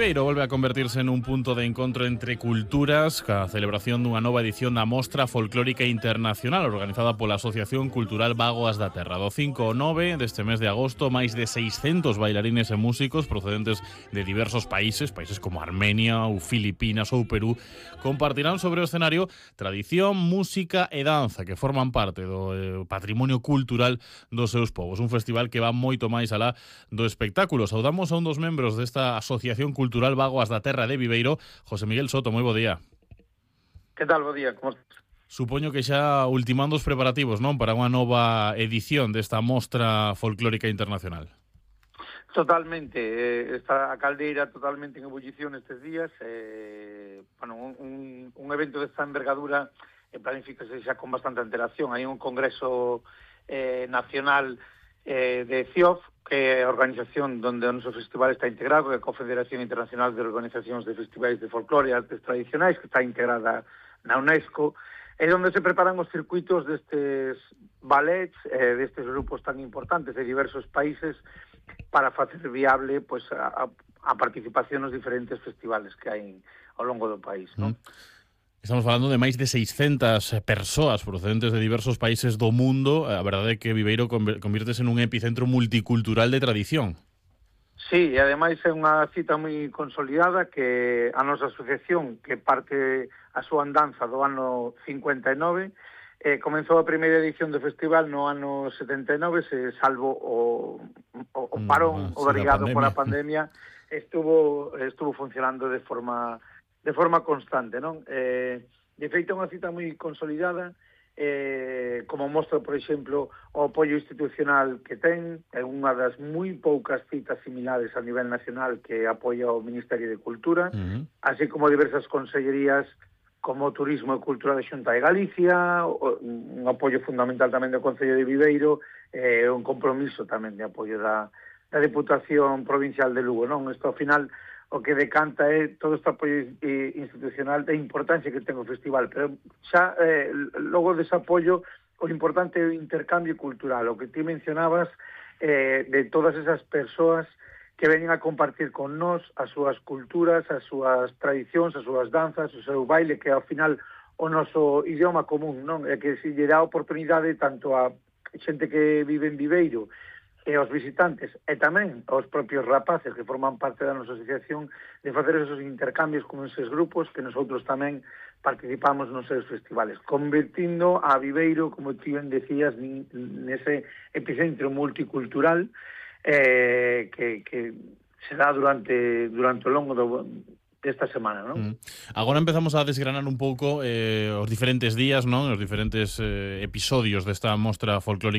Viveiro volve a convertirse nun punto de encontro entre culturas ca celebración dunha nova edición da Mostra Folclórica Internacional organizada pola Asociación Cultural Bágoas da Terra. Do 5 ao 9 deste mes de agosto, máis de 600 bailarines e músicos procedentes de diversos países como Armenia ou Filipinas ou Perú, compartirán sobre o escenario tradición, música e danza que forman parte do patrimonio cultural dos seus povos. Un festival que va moito máis alá do espectáculo. Saudamos a un dos membros desta Asociación Cultural Bágoas da Terra de Viveiro, José Miguel Soto. Moi bo día. Que tal, bo día, como estás? Supoño que xa ultimando os preparativos, non, para unha nova edición desta Mostra Folclórica Internacional. Totalmente, está a caldeira totalmente en ebullición estes días. Un evento desta envergadura planifícase xa con bastante antelación. Hai un congreso nacional de CIOF, que é a organización onde o noso festival está integrado, que é a Confederación Internacional de Organizacións de Festivais de Folclore e Artes Tradicionais, que está integrada na UNESCO, é onde se preparan os circuitos destes ballets, destes grupos tan importantes de diversos países, para facer viable pois, a participación nos diferentes festivales que hai ao longo do país, non? Estamos falando de máis de 600 persoas procedentes de diversos países do mundo. A verdade é que Viveiro convírtese nun epicentro multicultural de tradición. Sí, e ademais é unha cita moi consolidada que a nosa asociación, que parte a súa andanza do ano 59, comenzou a primeira edición do festival no ano 79, salvo o parón obrigado pola pandemia, estuvo funcionando de forma constante, non? De feito, é unha cita moi consolidada, como mostra, por exemplo, o apoio institucional que ten. É unha das moi poucas citas similares a nivel nacional que apoia o Ministerio de Cultura, así como diversas consellerías como Turismo e Cultura da Xunta de Galicia, un apoio fundamental tamén do Concello de Viveiro, e un compromiso tamén de apoio da Deputación Provincial de Lugo, non? Isto, ao final, o que decanta é todo este apoio institucional da importancia que ten o festival, pero xa logo dese apoio o importante é o intercambio cultural, o que ti mencionabas, de todas esas persoas que veñen a compartir con nós as súas culturas, as súas tradicións, as súas danzas, o seu baile, que ao final o noso idioma común, non? É que se lle dá oportunidade tanto a xente que vive en Viveiro e aos visitantes, e tamén aos propios rapaces que forman parte da nosa asociación, de facer esos intercambios con esos grupos que nosotros tamén participamos nos seus festivales, convertindo a Viveiro, como ti ben decías, nese epicentro multicultural que se dá durante o longo desta semana, non? Agora empezamos a desgranar un pouco os diferentes días, non? Os diferentes episodios desta Mostra Folclórica